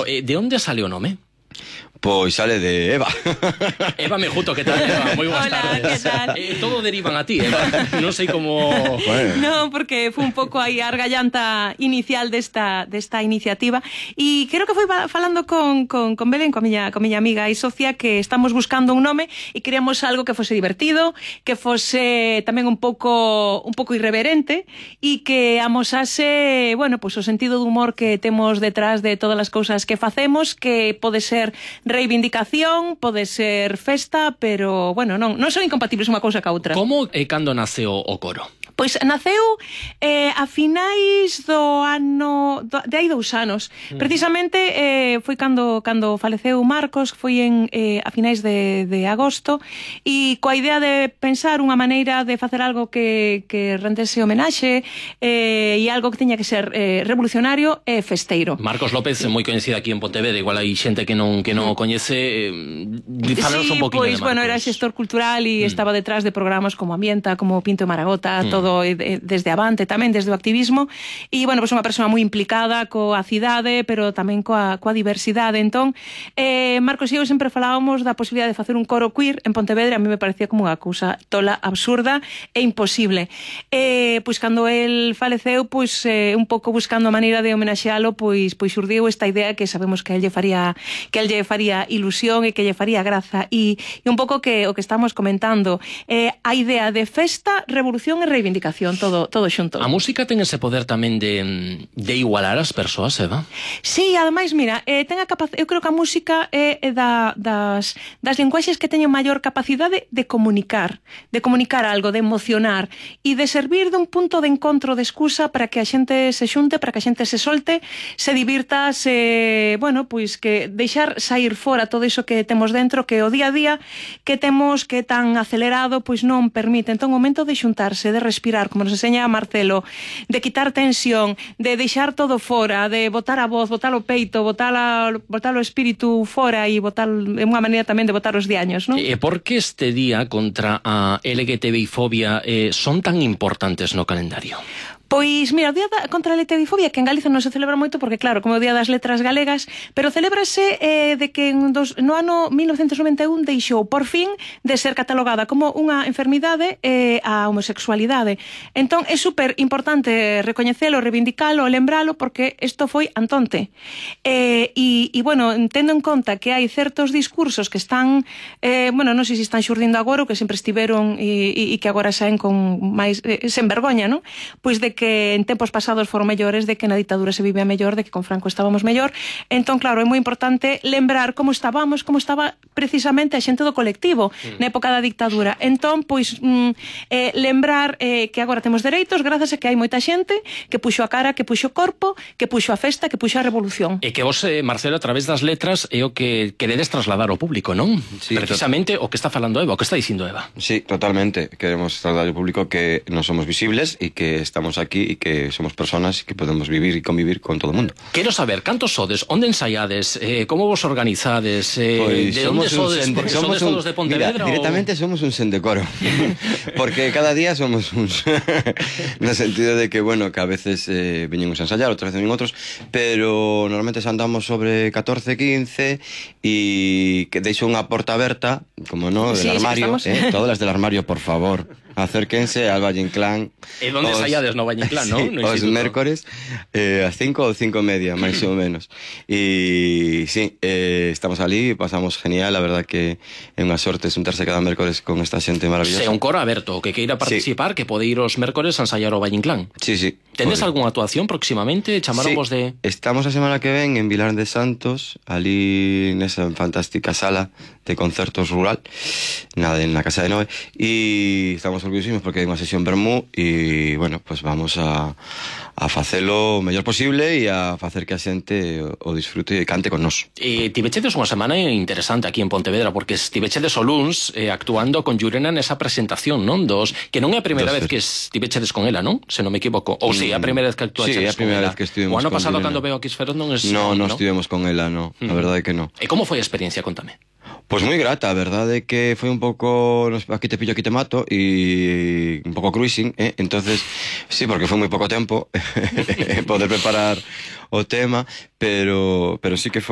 de onde sale o nome? Pois sale de Eva. Eva Mejuto, que tal, Eva? Moi boas tardes. Hola, que tal? Todo derivan a ti, Eva. Non sei como... Bueno. No, porque foi un pouco aí a argallanta inicial desta iniciativa e creo que foi falando con Belén, coa miña amiga e socia, que estamos buscando un nome e queríamos algo que fose divertido, que fose tamén un pouco irreverente e que amosase, bueno, pues o sentido do humor que temos detrás de todas as cousas que facemos, que pode ser reivindicación, pode ser festa, pero, bueno, non son incompatibles unha cousa ca outra. Como e cando naceu o coro? Pois naceu a finais do ano de hai 2 anos. Precisamente foi cando faleceu Marcos, foi a finais de agosto, e coa idea de pensar unha maneira de facer algo que rendese homenaxe e algo que tiña que ser revolucionario e festeiro. Marcos López é moi coñecido aquí en Pontevedra, igual hai xente que non o coñece. Falanos un poquinho de Marcos. Bueno, era xestor cultural e estaba detrás de programas como Ambienta, como Pinto e Maragota, todo desde Avante tamén, desde o activismo, e, bueno, pues unha persoa moi implicada coa cidade, pero tamén coa diversidade. Entón, Marcos e eu sempre falábamos da posibilidade de facer un coro queer en Pontevedra. A mí me parecía como unha cousa tola, absurda e imposible. Pois cando el faleceu, pois un pouco buscando a maneira de homenaxealo, pois xurdiu esta idea que sabemos que el lle faría ilusión e que lle faría graza, e un pouco que o que estamos comentando, a idea de festa, revolución e reivindicación, todo xunto. A música ten ese poder tamén de igualar as persoas, Eva? Sí, ademais, mira, ten a capacidade, eu creo que a música é das linguaxes que teñen maior capacidade de comunicar algo, de emocionar e de servir dun punto de encontro, de excusa para que a xente se xunte, para que a xente se solte, se divirta, bueno, pois que deixar sair fora todo iso que temos dentro, que o día a día que temos, que é tan acelerado, pois non permite. Entón, o momento de xuntarse, de respirar, como nos enseña Marcelo, de quitar tensión, de deixar todo fora, de botar a voz, botar o peito, botar o espírito fora e botar, é unha maneira tamén de botar os diaños, non? E por que este día contra a LGTBI-fobia son tan importantes no calendario? Pois, mira, o Día contra a LGTBI-fobia, que en Galiza non se celebra moito porque, claro, como é o Día das Letras Galegas, pero celébrase de que no ano 1991 deixou, por fin, de ser catalogada como unha enfermidade a homosexualidade. Entón, é super importante recoñecelo, reivindicalo, lembralo, porque isto foi antonte. E, bueno, tendo en conta que hai certos discursos que están, bueno, non sei se están xurdindo agora ou que sempre estiveron e que agora saen con máis, sen vergoña, non? Pois de que en tempos pasados foron mellores, de que na ditadura se vivía mellor, de que con Franco estábamos mellor. Entón, claro, é moi importante lembrar como estaba precisamente a xente do colectivo na época da dictadura. Entón, pois, lembrar que agora temos dereitos grazas a que hai moita xente que puxo a cara, que puxo o corpo, que puxo a festa, que puxo a revolución. E que vos, Marcelo, a través das letras é o que queredes trasladar ao público, non? Sí, precisamente o que está falando Eva, o que está dicindo Eva. Sí, totalmente. Queremos trasladar ao público que non somos visibles e que estamos aquí e que somos personas e que podemos vivir e convivir con todo o mundo. Quero saber, cantos sodes, onde ensaiades, como vos organizades, Pois de onde sodes, porque sodes todos de Pontevedra? Mira, directamente somos un sendecoro, porque cada día somos uns, no sentido de que, bueno, que a veces veñen uns a ensayar, outras veces veñen outros, pero normalmente andamos sobre 14, 15 e que deixo unha porta aberta, como no, del armario, todas las del armario, por favor. Acérquense al Valle Inclán. E onde ensaiades no Valle Inclán, sí, non? Os mércores a 5 ou 5:30, máis ou menos. E sí, estamos ali, pasamos genial, a verdad que é unha sorte xuntarse cada mércores con esta xente maravillosa. É un coro aberto, que queira participar, que pode ir os mércores a ensaiar o Valle Inclán. Sí, sí. Tendes algunha actuación próximamente? Chamaronvos de... Estamos a semana que ven en Vilar de Santos, ali nesa fantástica sala de concertos rural, na Casa de Noé, e estamos orgullosísimos porque hai unha sesión vermú e, bueno, pues vamos a facelo o mellor posible e a facer que a xente o disfrute e cante con nós. Tivechedes unha semana interesante aquí en Pontevedra, porque estivechedes o luns actuando con Llurena nesa presentación, non? Que non é a primeira vez que estivechedes con ela, non? Se non me equivoco. Ou si, é a primeira vez que actuachedes con ela. Sí, é a primeira vez que estivemos con ela. O ano pasado, cando veo aquí Esferos, non es... Non estivemos con ela, non. A verdade é que non. E como foi a experiencia? Contame. Pois moi grata, a verdade é que foi un pouco aquí te pillo, aquí te mato e un pouco cruising, entonces sí, porque foi moi pouco tempo poder preparar o tema, pero sí que foi